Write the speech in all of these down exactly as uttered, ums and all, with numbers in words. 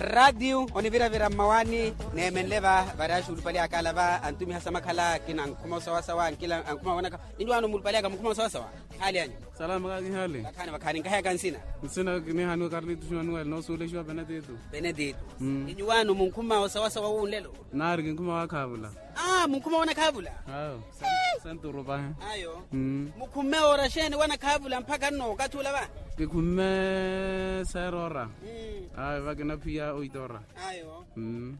Ratio oniviravira mmawaani. Neemenle va vari axuulupali aka ala va antumiha samakhala akina ankhuma osawasawa ankila ankhuma wonaka. Ninyi waano muulupali aka munkhuma osawasawa? Hali anyu? Salama kaki hali. Vakhaani vakhaani nkaheyaka nsina. Nsina kinihaniwa karlito xinaniwele noosuulexiwa penetitu. Penetitu. Ninyi waano munkhuma osawasawa wunlelo? Naari kinkhuma waakhaavula. Aa munkhuma wanakhaavula. Ayo. Senturu pahi. Ayo. Mukhumme ora xeeni wanakhaavula mpakha nno okathi ula va? Kikhumme seera ora. Ayo vakinaphiya oito ora. Ayo.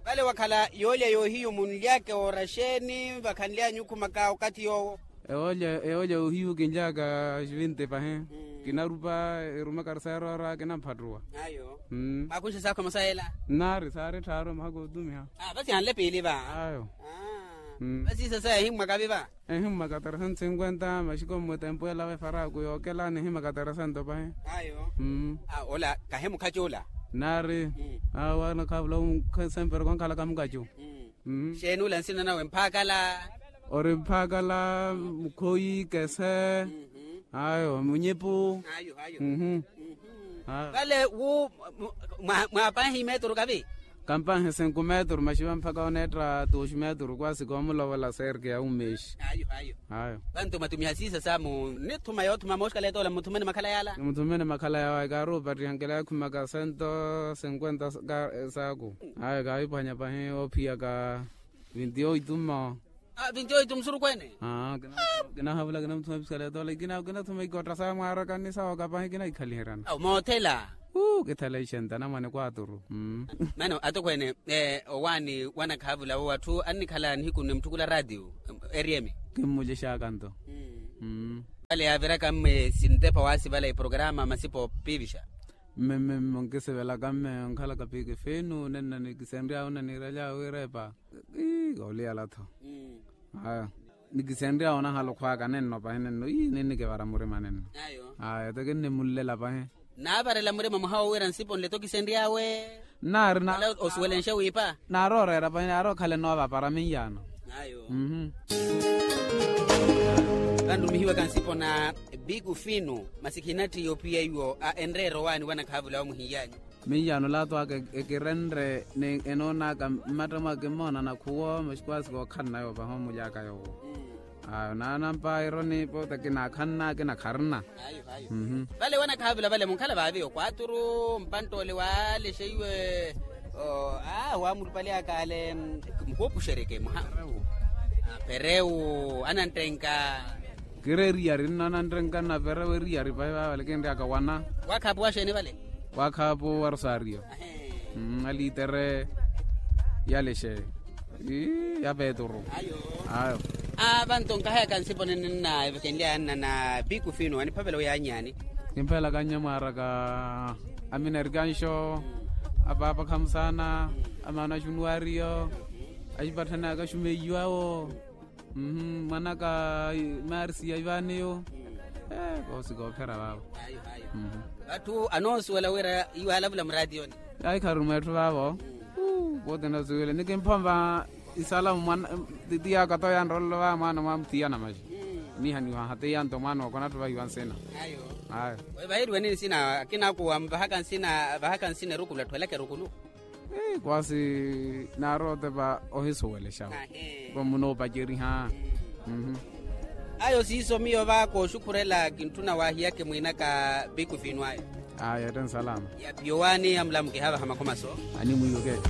Vale wakhala yoolya yoohiyu munlyaka ora xeeni vakhanly'anyu okhumaka okathi yoowo? Ewoolya ewoolya yoohiyu kinlyaka xivinte pahi. Kinarupa erumaka seera ora kinamphattuwa. Ayo. Mwakhunxe saakhu emosa yeela? Nnaari saari tthaaru emahaka otumiha. Vasi anle piili va? Ayo. Vasi sasa ehimmwaka vi va? Ehimmwaka tresento sinkwenta maxiko mmutempu ela vefaraku yookela nihimaka tresento pahi. Ayo. Ola kahi mukhaci ola? Nnaari. Awo anakhaavula sempre kwankhalaka mukacu. Xeeni ula nsina nawe mphaakala? Ori mphaakala, mukhoyi kese. Ayo munyipu. Ayo ayo. Vale wu mwapanhi meturu kavi? Kampanhi sinku meturu maxiva mpaka oneetta tuxi meturu kwasi koomulovola serke ya umexi. Ayo ayo. Ayo. Vantu mwatumiha siisa samu nithuma yoothuma mooxikaleeta ola mmuthumene makhala yaala? Mmuthumene makhala yawe kaari opattiha nkela yakhumaka sento sinkwenta saaku. Ayo kaahiphwanya pahi oophiyaka vinti oito mmo. Vinti oito musurukweene. Kinahavula kinamuthuma episikaleeta ola kinathuma ikootta saamwaaraka ni sawaka pahi kinahikhaliheryana. Moothela. Kithela ixenta namwane kwaturu. Mano atokweene, owaani wanakhaavula wo atthu annikhala nihiku nimutthukhula ratio? Eriyemi. Kimmucexaka nto. Vale yaaviraka mme sintepa waasivala eprograma masipa opiivixa. Mme mme mme onkisivelaka mme onkhalaka piiki fiinu nenna nikisenry'awe onaniiraly'awe wiirepa. Ii kooliyala-tho. Aya. Nikisenry'awe onahala okhwaka nenno pahi nenno ii ninnikivara murima nenno. Aya te kinnimunlela pahi. Naavarela murima muhawo wira nsipo nle-tho kisenry'awe. Nnaari na osuwelenxe wiipa. Naari oreera pahi naari okhale noova para minyaano. Vanrumihiwaka nsipo na biku finu masi khinatthi yoopiya iwo a enreera owaani wanakhaavula wa muhinyaanyu. Minyaano laato aka ekirenre ni enoon'aka mmatta mwaka emoona nakhuwo maxikwaasi kookhanna yoovaha omuly'aka yoowo. Ayo naanampa ironi poota kinaakhanna kinakharina. Vale wanakhaavula vale munkhala vaavi okwaturu mpantt'ole waalexeiwe. Aa waamulupali aka ale mukoopuxeryeke muha. Perewu ananttenka. Kiri eriyari nno ananttenka nna perewu eriyari pahi vaavale kinry'aka wana. Wakhaapu waxeeni vale? Wakhaapu wa rosario. Aliitere yalexe. Ya peturu. Ayo. Avanto nkahayaka nsipo nene nna evekenly'aya nna na piku fino aniphavela oyaany'ani. Kimphelaka nnya mwaaraka. Aminerkanxo. Apaapa khamusaana. Amaana axunuwariyo. Axipatthani akaxumeiwawo. Mwanaka marisi ya ivaaniyo. Koosi koophera vaavo. Atthu anoosuwela wira iwe alavula muraatiyoni. Ayi kharuri mweetthu vaavo. Vooti nasuwile nikimpomva. Isalamu mwana tiyaka to yanroololo va mwana mwa muthiyana maxi. Nihaniwaha tiyanto mwana okona atthu vahiwa nsina. Ayo. Vahiriweni nsina akina akuwa muvahaka nsina vahaka nsina erukulu atthu elaka erukulu. Kwasi naari otepa ohisuwelexawo. Vo munoopaceriha. Ayo siiso miyo va kooxukhurela kintthuna waahiyake mwiinaka piku fino ayo. Aya ette nsalama. Yaphiyo waani amulamukiha vaha makhomaso. Animwiiweke.